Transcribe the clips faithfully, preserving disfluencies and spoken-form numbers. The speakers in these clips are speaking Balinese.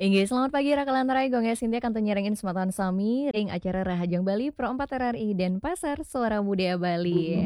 Inggih, selamat pagi Raka lan Rai, Gung Sintia kantun nyarengin semeton sami ring acara Rahajeng Bali Pro empat R R I Denpasar, Suara Budaya Bali.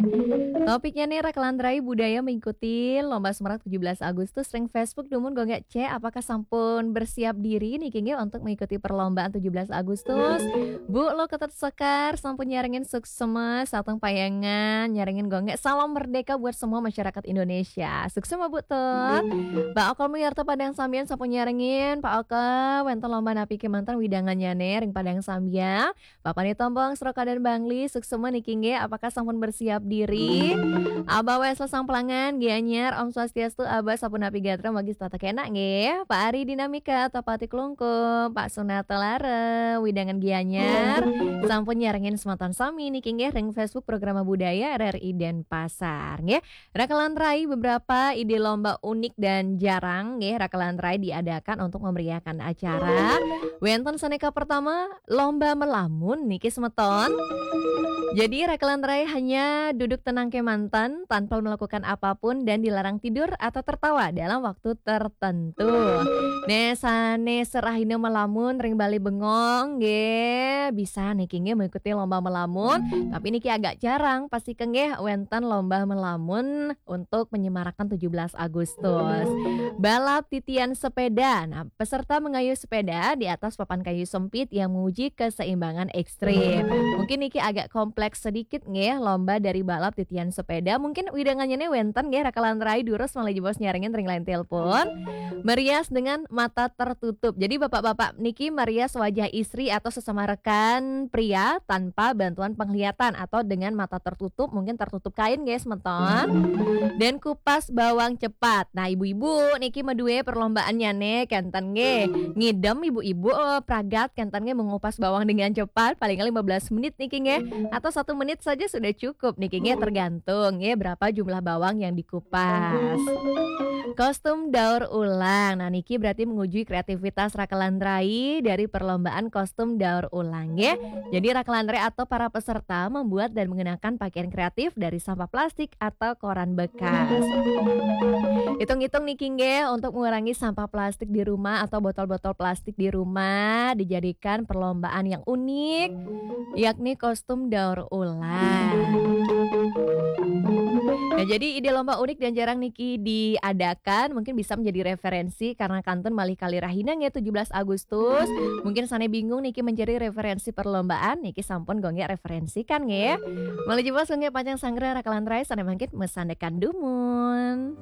Topiknya nih Raka lan Rai, budaya mengikuti lomba Semarang tujuh belas Agustus ring Facebook dumun. Gung, C, apakah sampun bersiap diri niki nggih untuk mengikuti perlombaan tujuh belas Agustus? Bu Lo Ketut Sekar sampun nyarengin, suksma, sareng payangan nyarengin Gung, salam merdeka buat semua masyarakat Indonesia. Suksma Bu Tut. Pak Oka Muyarta Padang Sambian sampun nyarengin, Pak Oka, wenten lomba napi kemanten widangannya nih ring Padang Sambian. Bapak Nitombong Srokadan Bangli, suksma niki nggih, apakah sampun bersiap diri? Abah Wesel Samplangan, Gianyar, Om Swastiastu, Abah sapunapi gatra, magi setata kenak nggih. Pak Ari Dinamika, Topati Klungkung, Pak Sunata Lara, widangan Gianyar, sampun nyarengin semeton sami niki nggih ring Facebook Programa Budaya R R I Denpasar nggih. Raka lan Rai, beberapa ide lomba unik dan jarang nggih Raka lan Rai diadakan untuk memeriahkan acara. Wenten sané kapertama, lomba melamun niki semeton. Jadi Raka lan Rai hanya duduk tenang kemanten tanpa melakukan apapun dan dilarang tidur atau tertawa dalam waktu tertentu. Nah, sané serahina melamun ring Bali Bengong nggih, bisa niki nggih mengikuti lomba melamun, tapi niki agak jarang pasti nggih wenten lomba melamun untuk menyemarakkan tujuh belas Agustus. Balap titian sepeda. Nah, peserta mengayuh sepeda di atas papan kayu sempit yang menguji keseimbangan ekstrim. Mungkin niki agak kompleks sedikit nggih, lomba dari balap titian sepeda. Mungkin widangannya nih wenten nggih Raka lan Rai, durus malih jebos nyarengin ring line telepon. Merias dengan mata tertutup. Jadi bapak-bapak niki merias wajah istri atau sesama rekan pria tanpa bantuan penglihatan atau dengan mata tertutup, mungkin tertutup kain nggih semeton. Dan kupas bawang cepat. Nah, ibu-ibu niki madue perlombaannya nih, kenten nggih. Ngidem ibu-ibu, eh, pragat kenten nggih mengupas bawang dengan cepat, paling lima belas menit niki nggih. Atau satu menit saja sudah cukup niki nggih, tergantung nggih berapa jumlah bawang yang dikupas. Kostum daur ulang. Nah, niki berarti menguji kreativitas Raka lan Rai dari perlombaan kostum daur ulang nggih. Jadi Raka lan Rai atau para peserta membuat dan mengenakan pakaian kreatif dari sampah plastik atau koran bekas. Hitung-hitung niki nggih, untuk mengurangi sampah plastik di rumah atau botol-botol plastik di rumah, dijadikan perlombaan yang unik, yakni kostum daur ulang. Nah, jadi ide lomba unik dan jarang niki diadakan, mungkin bisa menjadi referensi karena kantun malih kalih rahina nggih tujuh belas Agustus. Mungkin sané bingung niki mencari referensi perlombaan, niki sampun Gung referensikan nggih. Malih jebos Gung pacang sanggra Raka lan Rai sané mangkin masandekan dumun.